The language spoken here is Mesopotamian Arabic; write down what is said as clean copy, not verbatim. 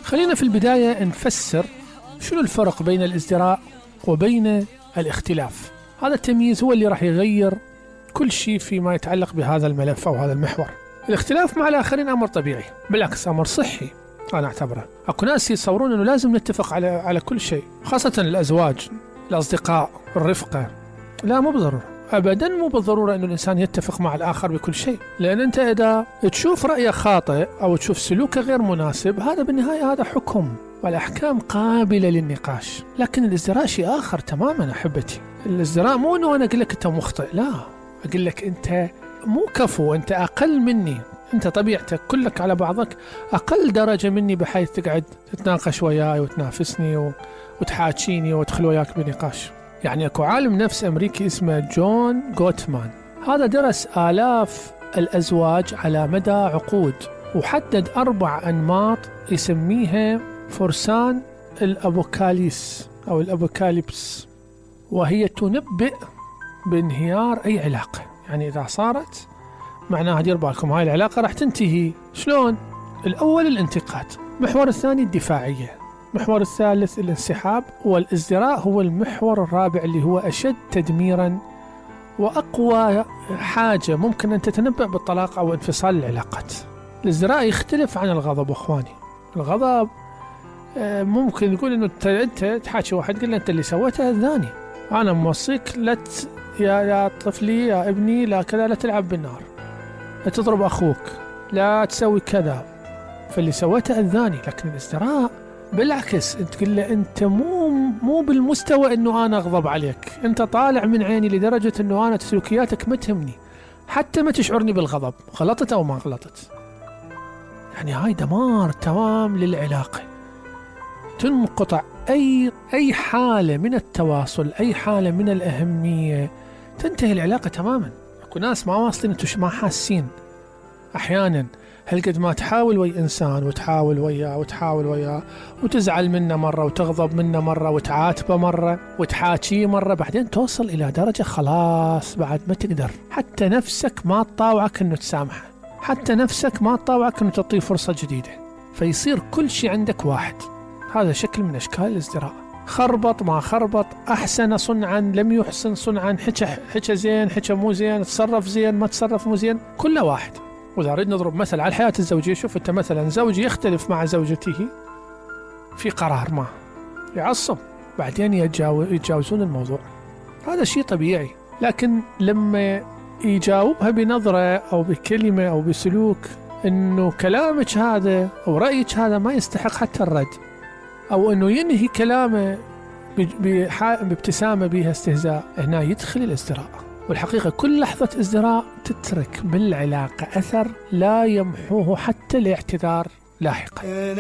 خلينا في البداية نفسر شنو الفرق بين الازدراء وبين الاختلاف. هذا التمييز هو اللي راح يغير كل شيء فيما يتعلق بهذا الملف أو هذا المحور. الاختلاف مع الآخرين أمر طبيعي، بالعكس أمر صحي أنا أعتبره. أكو ناس يتصورون أنه لازم نتفق على كل شيء، خاصة الأزواج، الأصدقاء، الرفقة. لا، مو بالضرورة، أبدا مو بالضرورة أنه الإنسان يتفق مع الآخر بكل شيء، لأن أنت إذا تشوف رأيه خاطئ أو تشوف سلوكه غير مناسب، هذا بالنهاية هذا حكم، والأحكام قابلة للنقاش. لكن الازدراء شيء آخر تماما أحبتي. الازدراء مو أنه أنا أقول لك أنت مخطئ، لا، أقول لك أنت مو كفو، أنت أقل مني، أنت طبيعتك كلك على بعضك أقل درجة مني، بحيث تقعد تتناقش وياي وتنافسني وتحاكيني وتدخل وياك بنقاش. يعني أكو عالم نفس أمريكي اسمه جون غوتمان، هذا درس آلاف الأزواج على مدى عقود، وحدد 4 أنماط يسميها فرسان الأبوكاليس أو الأبوكاليبس، وهي تنبئ بانهيار أي علاقة. يعني إذا صارت معناها دير بالكم هاي العلاقة راح تنتهي. شلون؟ الأول الانتقاد، المحور الثاني الدفاعية، المحور الثالث الانسحاب، والازدراء هو المحور الرابع اللي هو أشد تدميرا وأقوى حاجة ممكن أن تتنبأ بالطلاق أو انفصال العلاقات. الازدراء يختلف عن الغضب أخواني. الغضب ممكن يقول إنه أنت تحاكي واحد قل له أنت اللي سويته أذاني، أنا موصيك لا يا طفلي يا ابني لا كذا، لا تلعب بالنار، لا تضرب أخوك، لا تسوي كذا، فاللي سويته أذاني. لكن الازدراء بالعكس، انت تقول له انت مو بالمستوى انه انا اغضب عليك، انت طالع من عيني لدرجة انه انا سلوكياتك ما تهمني، حتى ما تشعرني بالغضب، غلطت او ما غلطت. يعني هاي دمار تمام للعلاقة، تنقطع اي حالة من التواصل، اي حالة من الاهمية، تنتهي العلاقة تماما. اكو ناس ما واصلين، انتو ما حاسين احيانا هل قد ما تحاول ويا إنسان وتحاول وياه وتزعل منه مرة وتغضب منه مرة وتعاتبه مرة وتحاكيه مرة، بعدين توصل إلى درجة خلاص بعد ما تقدر، حتى نفسك ما تطاوعك أنه تسامحه، حتى نفسك ما تطاوعك أنه تعطيه فرصة جديدة، فيصير كل شيء عندك واحد. هذا شكل من أشكال الازدراء. خربط ما خربط، أحسن صنعا لم يحسن صنعا، حكى زين حكى مو زين، تصرف زين ما تصرف مو زين، كله واحد. وإذا أريد نضرب مثل على الحياة الزوجية، شوف أنت مثلا زوجي يختلف مع زوجته في قرار ما، يعصب، بعدين يتجاوزون الموضوع، هذا شيء طبيعي. لكن لما يجاوبها بنظرة أو بكلمة أو بسلوك أنه كلامك هذا أو رأيك هذا ما يستحق حتى الرد، أو أنه ينهي كلامه بابتسامة بها استهزاء، هنا يدخل الازدراء. والحقيقة كل لحظة ازدراء تترك بالعلاقة أثر لا يمحوه حتى الاعتذار لاحقا.